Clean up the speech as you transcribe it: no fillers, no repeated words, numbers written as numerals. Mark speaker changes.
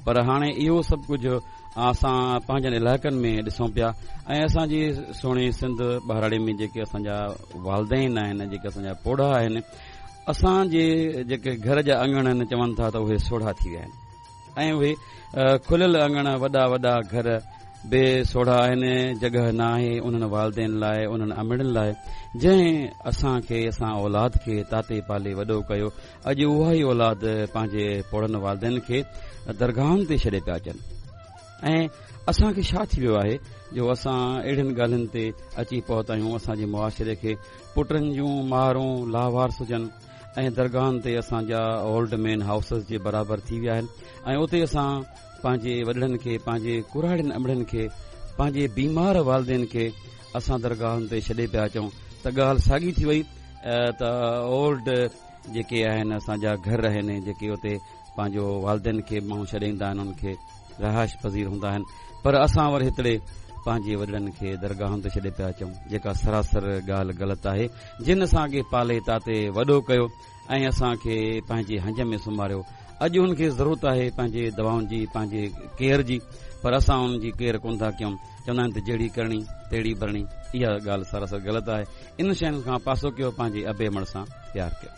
Speaker 1: پر هاڻي اهو سڀ ڪجهه اسان پنهنجن علائقن ۾ ڏسون پيا ۽ اسان جي سهڻي سنڌ ٻهراڙي ۾ جيڪي اسان جا والدين آهن جيڪي اسان جا پوڙها آهن اسان جي جيڪي گهر جا اڱڻ آهن چون ٿا ته اهي سوڙها ٿي ويا آهن ۽ اهي کليل اڱڻ وڏا وڏا گهر به سوڙها آهن جڳهه نه آهي انهن والدين لاء انهن امڙين لاء جنهن اسان کي اسان اولاد کي تاتي پالي وڏو ڪيو اڄ اها ئي اولاد پنهنجي پوڙهن والدين کي درگاهن تي ڇڏي پيا اچن ۽ اسان کي ڇا ٿي ويو آهي جو اسان اهڙين ڳالهين تي اچي پهتا آهيون اسان جي معاشري کي پٽن جون مارون لاوارث هجن ۽ درگاهن تي اسان جا اولڊ مين هائوسز جي برابر ٿي ويا آهن ۽ اتي اسان پنهنجي وڏڙن کي پنهنجي ڪراڙين امڙين کي پنهنجي بيمار والدين کي اسان درگاهن تي ڇڏي پيا اچون ته ڳالهه ساڳي ٿي وئي ته اولڊ جيڪي آهن اسان جا گهر آهن جيڪي اتي پنهنجو والدين کي ماڻهو ڇڏي ايندا آهن انهن کي رهائش پذير هوندا آهن پر اسان وري هتڙي پنهنجي وڏڙن کي درگاهن تي ڇڏي پيا اچون جيڪا سراسر ڳالهه غلط آهي جن اسان کي پالي تاتي وڏو ڪيو ۽ اسان کي پنهنجي هنج ۾ سمهاريو اڄ ان کي ضرورت آهي پنهنجي دوائن جي پنهنجي ڪيئر جي پر اسان ان جي ڪيئر ڪون ٿا ڪيون چوندا آهن ته جهڙي ڪرڻي تهڙي ڀرڻي اها ڳالهه سراسر غلط آهي ان شين کان پاسو ڪيو پنهنجي ابي امڙ سان پيار ڪيو.